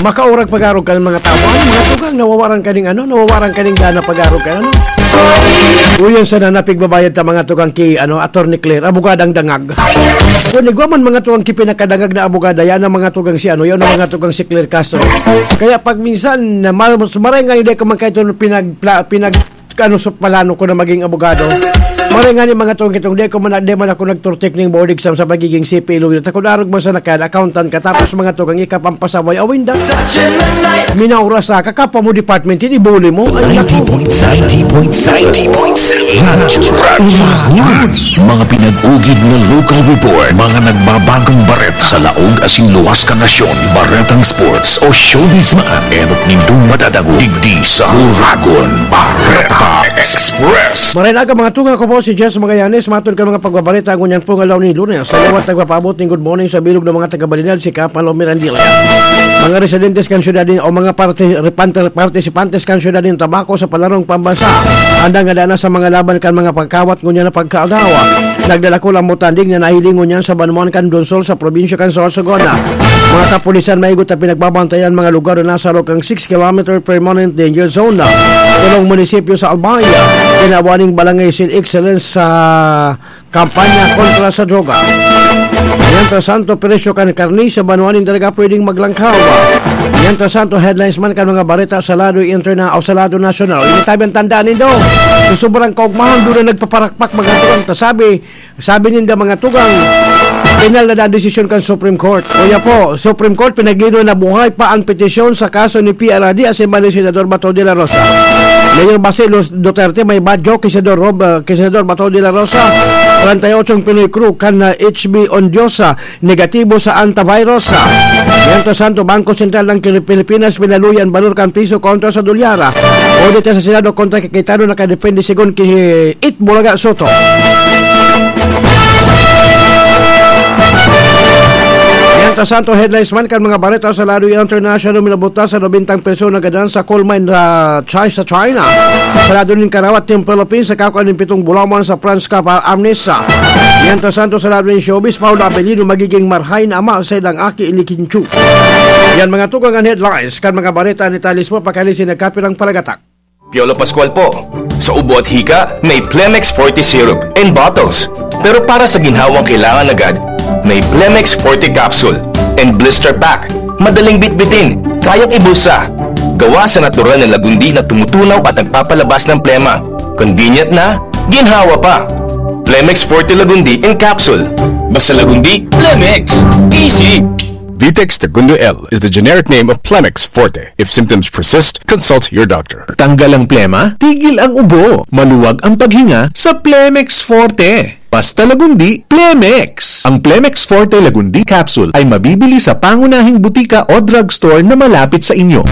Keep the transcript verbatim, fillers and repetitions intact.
Makaurag pag-arog kan mga tawo. Ano, mga tugang, nawawaran ka ning ano, nawawaran ka ning gana pag-arog kan ano. Uyan sana napigbabayad ta mga tugang ki, ano, Attorney Claire, abogadang dangag. Kung igwa man mga tugang ki pinakadangag na abogada, yan ang mga tugang si ano, yan ang mga tugang si Claire Castro. Kaya pag minsan, na mal-, maray nga hindi ko man kayo pinag-, pla-, pinag-, ano, sa plano ko na maging abogado. Maray nga ni mga tugang kitong, di ko man, di man ako nagturtik ning board exam sa pagiging C P A lawyer. Takod arog man sa nakad, accountant ka, tapos mga tugang ikapampasaway, awinda. Minaura sa kakapa mo department, ini bully mo. Ay, naku. Ninety point seven, ninety point seven, ninety point seven. Radyo, Radyo One. Mga pinag-ugid na local report, mga nagbabagong baret sa laog asin luwas kan nasyon, baretang sports o showbiz man, enot nindong madadangog digdi sa Uragon Bareta Express. Maray na aga, mga tugang, ako po si Jess Magallanes, matod kan mga pagbabareta ngunyan pong aldaw ni Lunes. Sa liwat nagpapaabot ning good morning sa bilog na mga taga-Balinal, si Kapalo Mirandilla. Mga residentes kan syudad nin, o mga parte-, repante-, partisipantes kan syudad nin Tabaco sa palarong pambansa, andang nadana sa mga laban kan mga pagkawat ngunyan na pagkaagaw. Nagdalakol ang mutanding na nahiling ngunyan sa banwaan kan Donsol sa probinsya kan Sorsogon. Mga kapulisan maigot na pinagbabantayan mga lugar na nasa loob kan six kilometer permanent danger zone. Tulong munisipyo sa Albay, ginawa ning Barangay Seal Excellence sa kampanya kontra sa droga. Mientras tanto, presyo kan karne sa banwaan nin Daraga pwedeng maglangkaw. Mientras tanto, headlines man kan mga bareta sa lado interna o sa lado nasyonal. Ini tabi ang tandaan nindo. Sa sobrang kaugmahan, doon na nagpaparakpak mga tugang. Ta sabi, sabi ninda mga tugang, penal na desisyon kan Supreme Court. Kuya po, Supreme Court, pinaglino na buhay pa ang petisyon sa kaso ni P R R D asin man ni Senador Bato de la Rosa. Mayor Basil Duterte may badyo kay Senador Rob, ah, kay Senador Bato de la Rosa. Treinta y ocho Pinoy crew kan, ah, H B Ondiosa, negatibo sa antivirus. Mientras tanto, Bangko Sentral ng Kili-, Pilipinas pinaluyan balor kan piso kontra sa dolyar. Audit sa Senado kontra kay Cayetano nakadepende segun ki It Bulaga Soto. Mientras tanto, headlines man kan mga bareta sa lado international, minabuta sa nobentang persona gadan sa coal mine sa Chi-, sa China. Sa lado nin karawat nin Philippines, sa kakuan nin pitong bulawan sa France Cup, ah, Amnesa. Mientras tanto, sa lado nin showbiz, Paolo Avellino magiging marhay na ama sa ilang aki ni Kim Chiu. Yan mga tugang an headlines kan mga bareta ni Talis mo, pakalisin nagkapirang palagatak. Piolo Pascual po. Sa ubo at hika, may Plemex Forte Syrup in bottles. Pero para sa ginhawang kailangan agad, may Plemex Forte Capsule and Blister Pack. Madaling bitbitin, kayang ibulsa. Gawa sa natural na lagundi na tumutunaw at nagpapalabas ng plema. Convenient na, ginhawa pa. Plemex Forte Lagundi in Capsule. Basta Lagundi, Plemex. Easy! Vitex Tagundo L is the generic name of Plemex Forte. If symptoms persist, consult your doctor. Tanggal ang plema, tigil ang ubo, maluwag ang paghinga sa Plemex Forte. Basta Lagundi, Plemex. Ang Plemex Forte Lagundi Capsule ay mabibili sa pangunahing butika o drugstore na malapit sa inyo.